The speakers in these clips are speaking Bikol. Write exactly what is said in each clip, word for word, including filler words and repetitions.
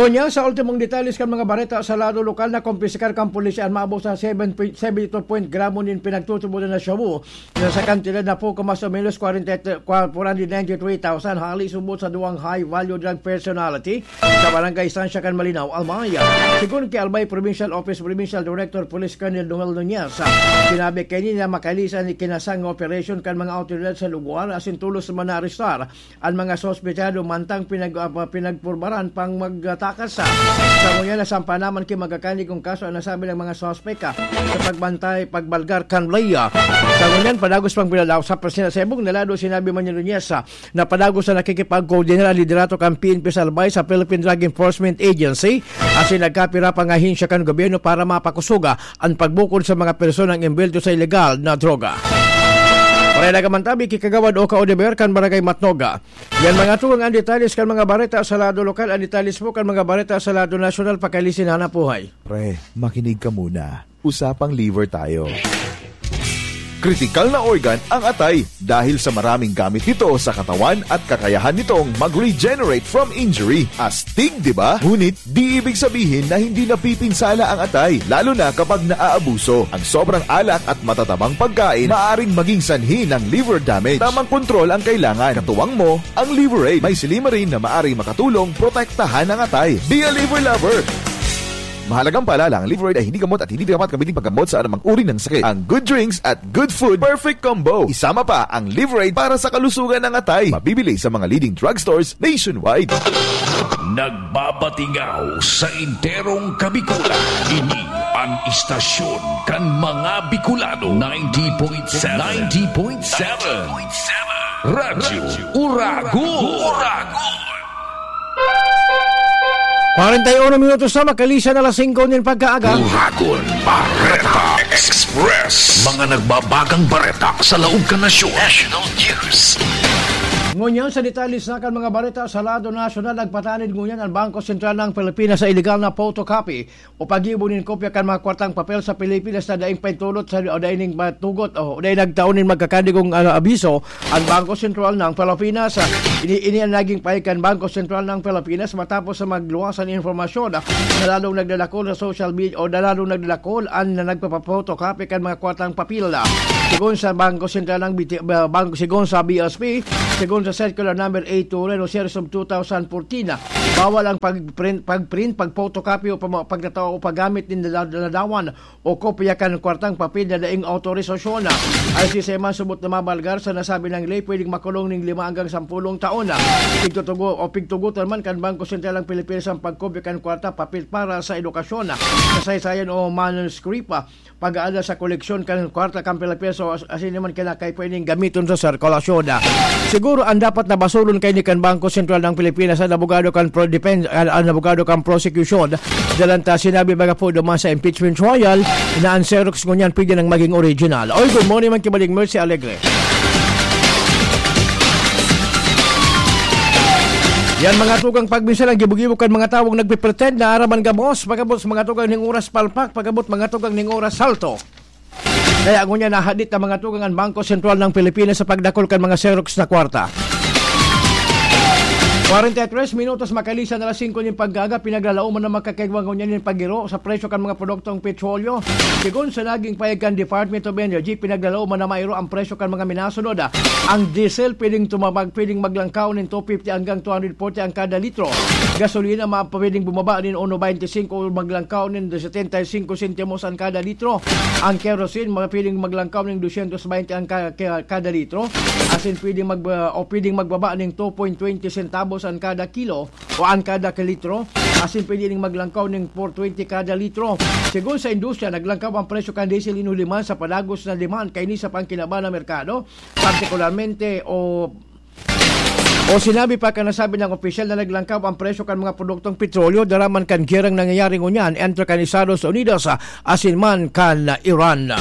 Unya, sa ultimong detalles kan mga bareta sa lado lokal, nakompiskar kan pulisya an maabot sa seven point seven two point gramo nin pinagtutubodan na shabu, na sa kantidad na poco mas o menos kwarenta, four hundred ninety-three thousand, hali subot sa duwang high-value drug personality sa Barangay Estancia kan Malinao, Albay. Sigon ki Albay Provincial Office Provincial Director Police Colonel Noel Nunez, sinabi kaini na makalisan ni kinasang nga operasyon kan mga awtoridad sa lugar asin tolos man naarestar an mga suspetsado mantang pinag-, ah, pinagpurbaran pang magtakas. Sa ngunyan, nasampa naman ki magkakanigong kaso an nasabing mga suspek, ah, sa pagbantay, pagbalgar kan ley. Sa ngunyan, padagos pang pinalaw sa presena sa ibong nalado, sinabi man ni Nunez, ah, na padagos na nakikipagkoordinar ang liderato kan P N P sa Albay sa Philippine Drug Enforcement Agency asin nagkapira pang ahensya kan gobyerno para mapakusoga an pagbukod sa mga personang embwelto sa ilegal na droga. Pareha ka man tabi ki Kagawad Oka Odeber kan Barangay Matnoga. Yan mga tugang an detalles kan mga bareta sa lado lokal. An detalles po kan mga bareta sa lado nasyonal, pakalisin hanap buhay. Pre, makinig ka muna. Usapang liver tayo. Kritikal na organ ang atay dahil sa maraming gamit nito sa katawan at kakayahan nitong mag-regenerate from injury. Astig, di ba? Ngunit, di ibig sabihin na hindi napipinsala ang atay, lalo na kapag naaabuso. Ang sobrang alak at matatabang pagkain maaring maging sanhi ng liver damage. Tamang kontrol ang kailangan. Katuwang mo ang Liver Aid. May silymarin na maaring makatulong protektahan ang atay. Be a liver lover! Mahalagang paalala, ang Liver Aid ay hindi gamot at hindi dapat gamitin paggamot sa anumang uri ng sakit. Ang good drinks at good food, perfect combo. Isama pa ang Liver Aid para sa kalusugan ng atay. Mabibili sa mga leading drugstores nationwide. Nagbabatingaw sa enterong Kabikulan. Ini an istasyon kan mga Bicolano. Ninety point seven. Ninety point seven. Radyo Uragon. Kwarenta y uno minutos na makalisan alas singko nin pagkaaga. Uragon Bareta Express. Mga nagbabagang bareta sa laog kan nasyon. National News. Ngunyan sa detalye sa kan mga bareta sa lado nasyonal, nagpatanid ngunyan ang Bangko Sentral ng Pilipinas sa iligal na photocopy o paggibo nin kopya kan mga kwartang papel sa Pilipinas na daing paintulot sa, o daing ning matugot o daing nagtao nin magkakanigong, ah, abiso ang Bangko Sentral ng Pilipinas. Ini, ini ang naging pahayag kan Bangko Sentral ng Pilipinas matapos sa magluwas ang impormasyon na lalong nagdadakol sa social media o na lalong nagdadakol ang nagpapaphotocopy kan mga kwartang papel. Sigon sa Bangko Sentral ng B T, ah, Bangko, sigon sa B S P, sigon sa Circular Number eight two o Series of two thousand fourteen, bawal ang pagprint, pagprint, pagphotocopy o pama-, pagtatao o paggamit nin ladaw-, ladawan o kopya kan kwartang papel na daing awtorisasyon. Ang sisay man subot na mabalgar sa nasabi nang ley, pwedeng makulong ning lima hanggang sampulong taon. Pigtutugo o pigtugotan man kan Bangko Sentral ng Pilipinas ang pagkopya kan kwarta papel para sa edukasyon, kasaysayan o manuscript, pag-aada sa koleksyon kan kwarta kan Pilipinas o as-, asin naman kinakay pwedeng gamiton sa sirkulasyon. Siguro ang dapat na basulon kaini kan Bangko Sentral ng Pilipinas, ang abogado kan pro-, defense, ang, ang abogado kan prosecution. Dalan ta sinabi baga po duman sa impeachment trial na ang Xerox ngunyan pwede nang maging original. Oy, good morning man ki Baling Mercy Alegre. Yan mga tugang pagminsan ang gibo-gibo kan mga tawong nagpipretend na aram an gabos, pagabot sa mga tugang ning oras palpak, pagabot mga tugang ning oras salto. Kaya ngunyan nahadit na mga tugang an Bangko Sentral ng Pilipinas sa pagdakol kan mga Xerox na kwarta. Kwarenta y tres minutos makalisan alas singko nin pagkaaga, pinaglalaoman na makakaigwa ngunyan nin pagiro sa presyo kan mga produktong petrolyo. Sigon sa naging pahayag kan Department of Energy, pinaglalaoman na mairo ang presyo kan mga minasunod. Ang diesel pwedeng tumabag, pwedeng maglangkaw nin two fifty hanggang two hundred forty ang kada litro. Gasolina ma-, pwedeng bumaba nin uno veinticinco o maglangkaw nin setenta y cinco sentimos ang kada litro. Ang kerosene, ma-, pwedeng maglangkaw nin doscientos veinte ang ka-, ka-, kada litro. Asin pwedeng mag-, o pwedeng magbaba nin two point twenty centavos ang kada kilo o ang kada ka litro. Asin pwede ning maglangkaw nin four twenty kada litro. Sigon sa industriya, naglangkaw ang presyo kan diesel in huliman sa padagos na demand kaini sa pangkinaban na merkado. Partikularmente, o, o sinabi pa kan nasabi nang opisyal na naglangkaw ang presyo kan mga produktong petrolyo daraman kan gerang nangyayari ngunyan entre kan Estados Unidos, ah, asin man kan Iran.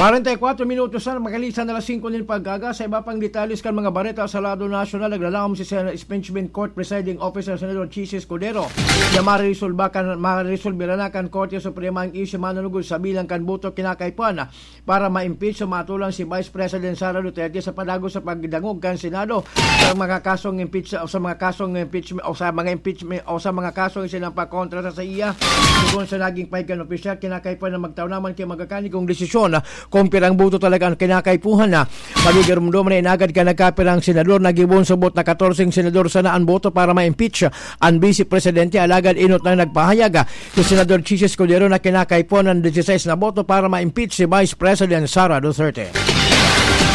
Kwarenta y kwatro minutos na makalisan na alas singko nin pagkaga. Sa iba pang detalles kan mga bareta sa lado nasyonal, naglalaom si Sen-, Impeachment Court Presiding Officer Senador Chiz Escudero na mariresolba kan, mariresolbira na kan Korte Suprema ang isyu manunugod sa bilang kan boto kinakaipuhan para ma-impeach o matulang si Vice President Sara Duterte sa padago sa pagdangog kan Senado sa mga kasong impeach, o sa mga kasong impeachment, o sa mga impeachment, o sa mga kasong isinampa kontra sa, sa iya. Sigon sa naging pahayag kan opisyal, kinakaipuhan na magtao naman kay magakanikong desisyon kung pirang boto talaga ang kinakaipuhan na. Magigirumdom na inagad ka nagkapirang senador, nagibon subot na katorse senador sana ang boto para ma-impeach ang Vice Presidente, alagad inot nang nagpahayag si Senador Chiz Escudero na kinakaipuhan ng dieciséis na boto para ma-impeach si Vice President Sara Duterte.